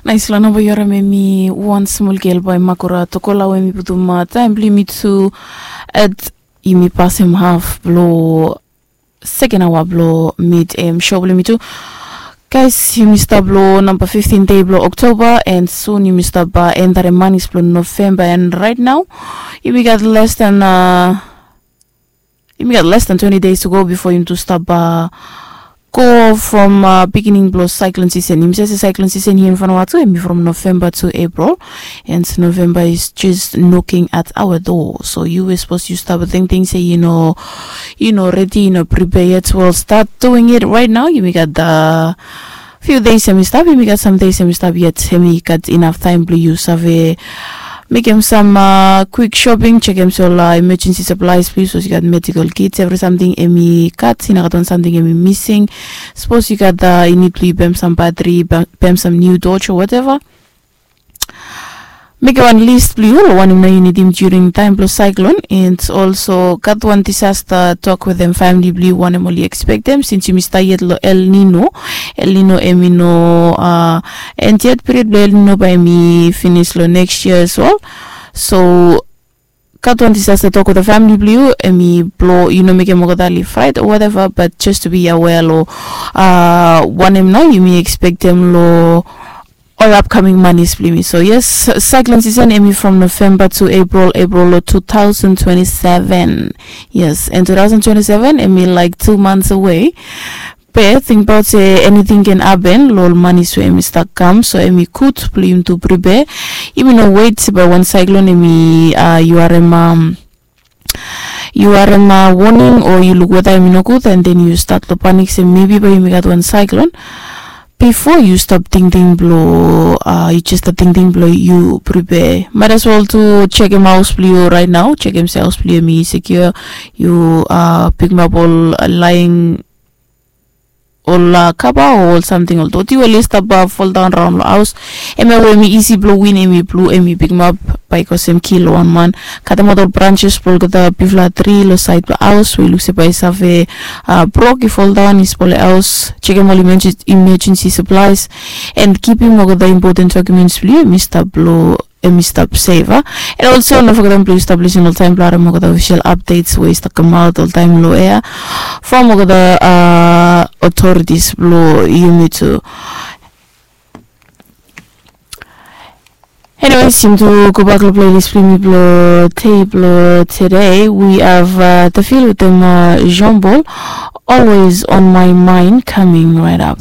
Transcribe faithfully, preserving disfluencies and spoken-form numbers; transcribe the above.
Nais long namba yu harim em i wan smol gel bai Makura Tokola we mi putum taem blong yumi tu at yumi pasem haf blong seken aoa blong mit em sho blong yumi tu. Guys, yumi stap long namba fiftin dei blong Oktoba, and sun yumi stap entarem manis blong Novemba, and right now yumi gat less than uh, yumi gat less than twenty days to go before yumi tu stap uh, go from uh, beginning blong cyclone season. Yumi save se cyclone season here in Vanuatu em i from November to April, and November is just knocking at our door. So you were supposed to stop thinking say you know you know ready you know prepare yet. Well, start doing it right now. Yumi gat the few days em i stap, yumi gat some days em i stap yet, em i gat enough time blong yu save mekem some uh, quick shopping, chekem se ol uh, emergency supplies blong yu, suppose yu gat medical kits, every something em i gat, i no gat wan something em i missing. Suppose yu gat uh, i need blong yu bem some battery, bem some new torch or whatever. Mekem wan list blong yu long wanem nao yu nidim during taem blong cyclone, and also gat wan disaster tok wetem famili blong yu wanem oli ekspektem, since yumi stap yet long El Nino. El Nino em i no uh, end yet, period blong El Nino bae em i finis long next year as well. So gat wan disaster tok wetem famili blong yu, em i blong yu no mekem olgeta oli fright or whatever, but just to be aware long uh, wanem nao yumi ekspektem long ol upcoming manis blong yumi. So yes, cyclone season em i from November to April, April long two thousand twenty-seven. Yes, and two thousand twenty-seven em i like two months away. Be tingbaot se anything can happen long ol manis we em i stap kam, so em i gud blong yumi tu prepare. Yumi no wet se bae wan cyclone em i uh, yu harim um, yu harim uh, warning o yu luk weta em i nogud, and then yu stat long panik se maybe bae yumi gat wan cyclone. Before yu stap tingting blong uh, yu just stap tingting blong yu prepare, might as well tu chekem haos blong yu right now, chekem se haos blong yu em i secure. Yu uh, pikimap ol uh, lying ol uh, kaba o ol samting, ol doti we oli stap uh, foldaon raon long haos. Em ya we em i isi blong win, em i blu, em i bigmap bae i kosem kil long wan man. Katemaot ol branches blong olgeta bigfala tri long saed blong haos we i luk se bae i save uh, brok, i foldaon, i spolem haos. Chekem ol emergen- emergency supplies and kipim olgeta important documents blong yu em i stap blong em i stap safe a. And also no fogetem blong yu stap lisin oltaem blong harim olgeta official updates we i stap kamaot oltaem long ea from olgeta uh, authorities blong yumi tu. Anyways, yumi tu gobak long playlist blong yumi blong dei blong today. We have uh, the feel with them uh, Jean Paul, always on my mind, coming right up.